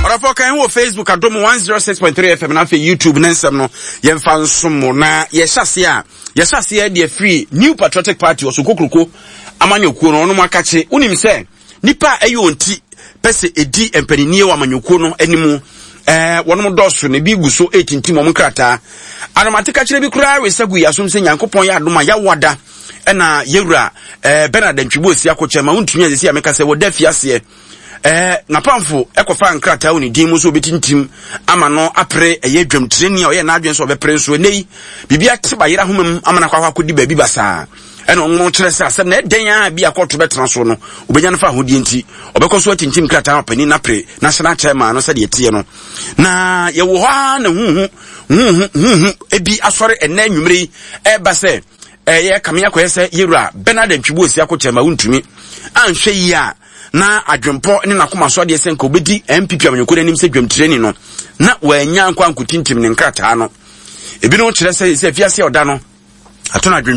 Ɔdɔfoɔ kan wɔ Facebook Adom 106.3 FM na afei YouTube ne nsɛm no yɛmfa nsom mo na yɛhyɛ aseɛ a yɛhyɛ aseɛ deɛ firi New Patriotic Party ɔso kokroko amanyɔkuo no ɔnom akakye wonim sɛ nipa a ɛyɛ wɔn ti pɛ sɛ ɛdi mpaninnie wɔ amanyɔkuo no anim ɛɛ wɔnom dɔɔso na ebi gu so ɛretintim wɔn nkrataa anomate kakyerɛ bi koraa resa gu yɛasom sɛ Nyankopɔn yɛ adom a yɛawada ɛna yɛwura ɛɛ Bernard Antwibu Osi Akokyɛ ma wontumi asisi a meka sɛ wɔda afiaseɛ ɛɛ n'apamfo ɛkɔfa nkrataa wɔ ne din mu nso obetintim ama no apere ɛyɛ dwamtirani a ɔyɛ n'adwene sɛ ɔbɛpere nso ɛnɛ yi biribi ate bayera ahoma mu ama no akɔ akɔdi baabi basaa ɛna ɔno kyerɛ sɛ asɛm na ɛdɛn a bi akɔto bɛtena so no obɛnya no fa ahodie nti ɔbɛkɔ so atintim krataa ɔpanin no apere national chairman no sɛdeɛ ɛteɛ no na yɛwɔ hɔ ara na huhu huhu huhu ebi asɔre ɛnɛ anwummere yi ɛreba sɛ ɛyɛ kame akɔyɛ sɛ yɛwura Bernard Antwibu Osi Akokyɛ ma wontumi anhwɛ yie a na adwempɔ ne n'akoma so adeɛ sɛ nka obɛdi NPP amanyɔkuo no anim sɛ dwamtirani no na wannya nkɔ ankotintim ne nkrataa no. Ebinom kyerɛ sɛ sɛ afiase a ɔda no ato no adwene.